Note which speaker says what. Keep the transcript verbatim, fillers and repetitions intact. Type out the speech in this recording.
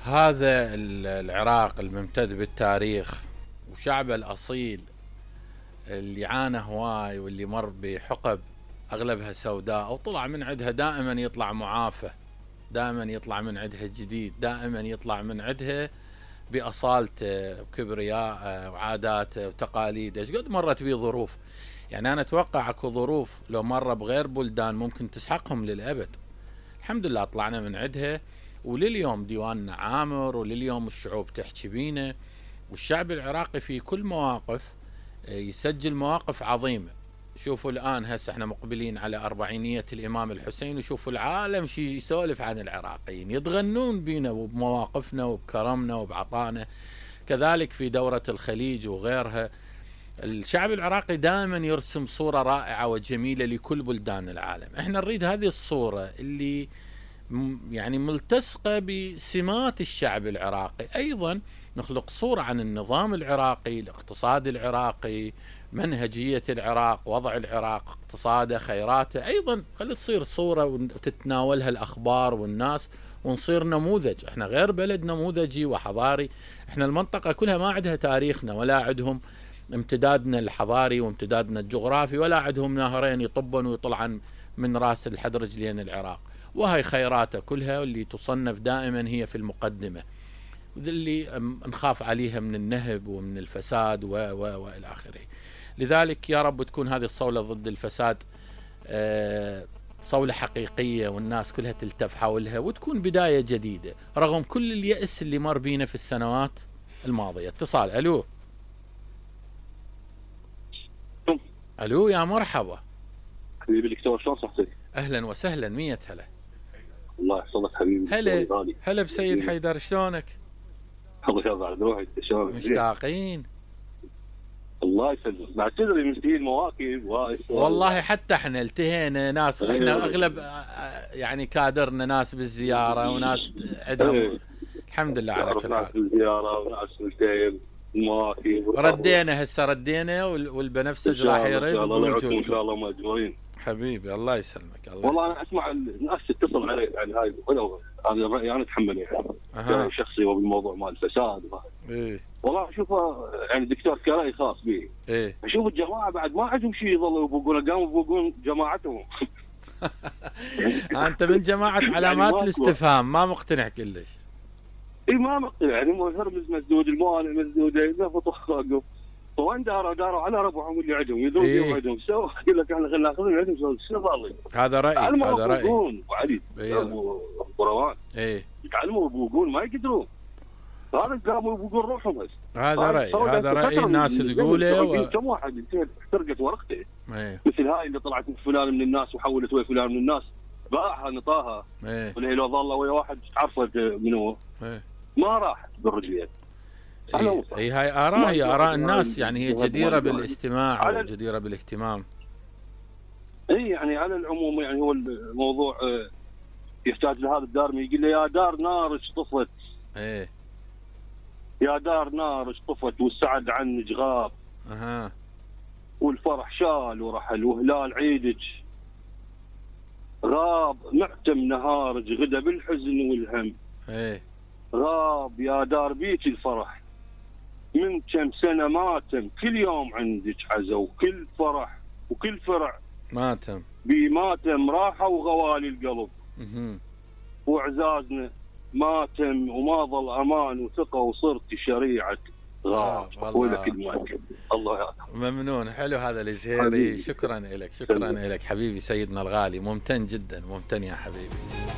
Speaker 1: هذا العراق الممتد بالتاريخ وشعبه الأصيل اللي عانى هواي واللي مر بحقب أغلبها سوداء وطلع من عندها دائما يطلع معافى، دائما يطلع من عندها جديد، دائما يطلع من عندها بأصالته وكبرياءه وعاداته وتقاليده. ايش قد مرت بيه ظروف، يعني أنا أتوقع أكو ظروف لو مرة بغير بلدان ممكن تسحقهم للأبد. الحمد لله طلعنا من عندها، ولليوم ديواننا عامر، ولليوم الشعوب تحكي بينا، والشعب العراقي في كل مواقف يسجل مواقف عظيمة. شوفوا الآن هسه احنا مقبلين على أربعينية الإمام الحسين، وشوفوا العالم شي يسولف عن العراقيين، يتغنون بينا وبمواقفنا وبكرمنا وبعطانا. كذلك في دورة الخليج وغيرها، الشعب العراقي دائما يرسم صورة رائعة وجميلة لكل بلدان العالم. احنا نريد هذه الصورة اللي يعني ملتصقة بسمات الشعب العراقي. ايضا نخلق صورة عن النظام العراقي، الاقتصاد العراقي، منهجية العراق، وضع العراق، اقتصاده، خيراته. ايضا خلي تصير صورة وتتناولها الاخبار والناس، ونصير نموذج. احنا غير بلد نموذجي وحضاري، احنا المنطقة كلها ما عندها تاريخنا، ولا عندهم امتدادنا الحضاري وامتدادنا الجغرافي، ولا عندهم نهرين يطبن ويطلعن من راس لحد رجلين العراق. وهي خيراته كلها واللي تصنف دائما هي في المقدمة، اللي نخاف عليها من النهب ومن الفساد والى اخره. لذلك يا رب تكون هذه الصولة ضد الفساد صولة حقيقية، والناس كلها تلتف حولها، وتكون بداية جديدة رغم كل اليأس اللي مر بينا في السنوات الماضية. اتصال. الو الو يا مرحبا
Speaker 2: حبيبي الدكتور، شلون صحتك؟
Speaker 1: اهلا وسهلا، مية هلا.
Speaker 2: الله يحفظك حبيبي.
Speaker 1: هلا هلا بسيد حيدر، شلونك؟
Speaker 2: الله يرضى روحك، شلونك؟
Speaker 1: مشتاقين.
Speaker 2: الله يسلمك. بعد تدري مشتهين مواكب وايد
Speaker 1: والله، حتى احنا التهينا ناس، احنا اغلب يعني كادرنا ناس بالزياره وناس عندهم الحمد لله على كل حال.
Speaker 2: بالزياره وناس بالتهيل المواكب،
Speaker 1: ردينا هسه ردينا، والبنفسج راح يرد.
Speaker 2: الله يعطيكم ان شاء الله ماجورين
Speaker 1: حبيبي. الله يسلمك. الله
Speaker 2: والله
Speaker 1: يسلمك.
Speaker 2: انا اسمع الناس تتصل علي يعني هاي ولو هذا الراي انا اتحمل يعني
Speaker 1: أه.
Speaker 2: شخصي وبالموضوع مال الفساد.
Speaker 1: ايه
Speaker 2: والله اشوفه يعني دكتور كراي خاص به.
Speaker 1: ايه
Speaker 2: اشوف الجماعه بعد ما عندهم شيء، يظلوا يبوقون، قاموا يبوقون جماعتهم.
Speaker 1: انت من جماعه علامات الاستفهام، ما مقتنع كلش.
Speaker 2: اي ما مقتنع يعني، هرمز مسدود، الموانئ مسدوده، يضبطوا واقف. وين داروا؟ داروا على ربعهم اللي عندهم، يذوب
Speaker 1: إيه؟
Speaker 2: عندهم سووا يقول لك احنا خلينا ناخذ من عندهم. شنو ظالين؟
Speaker 1: هذا رايي، هذا رايي.
Speaker 2: وعلي ابو روان
Speaker 1: ايه
Speaker 2: يتعلموا يبوقون ما يقدرون، هذا قاموا يبوقون روحهم هسه.
Speaker 1: هذا رايي، هذا رايي الناس تقوله.
Speaker 2: و... كم واحد احترقت ورقته.
Speaker 1: ايه.
Speaker 2: مثل هاي اللي طلعت من فلان من الناس وحولت ويا فلان من الناس، باعها نطاها.
Speaker 1: ايه.
Speaker 2: ولا لو ظل ويا واحد عرفت من هو.
Speaker 1: ايه.
Speaker 2: ما راحت بالرجلين.
Speaker 1: اي إيه هاي اراء، هي اراء الناس يعني، هي جديره بالاستماع وجديره بالاهتمام.
Speaker 2: اي يعني على العموم يعني هو الموضوع يحتاج لهذا الدارمي يقول له يا دار نار اشطفت.
Speaker 1: ايه
Speaker 2: يا دار نار اشطفت والسعد عنك غاب.
Speaker 1: اها.
Speaker 2: والفرح شال ورحل وهلال عيدك غاب، معتم نهارك غدا بالحزن والهم.
Speaker 1: ايه
Speaker 2: غاب يا دار بيك الفرح من كم سنه ماتم، كل يوم عندك عزا وكل فرح وكل فرع
Speaker 1: ماتم
Speaker 2: بماتم راحه وغوالي القلب.
Speaker 1: اها.
Speaker 2: واعزازنا ماتم وما ظل امان وثقه، وصرت شريعه غاب. ولك المؤكد. الله يعطيك.
Speaker 1: ممنون. حلو هذا الزهيري. شكرا لك، شكرا لك حبيبي سيدنا الغالي. ممتن جدا، ممتن يا حبيبي.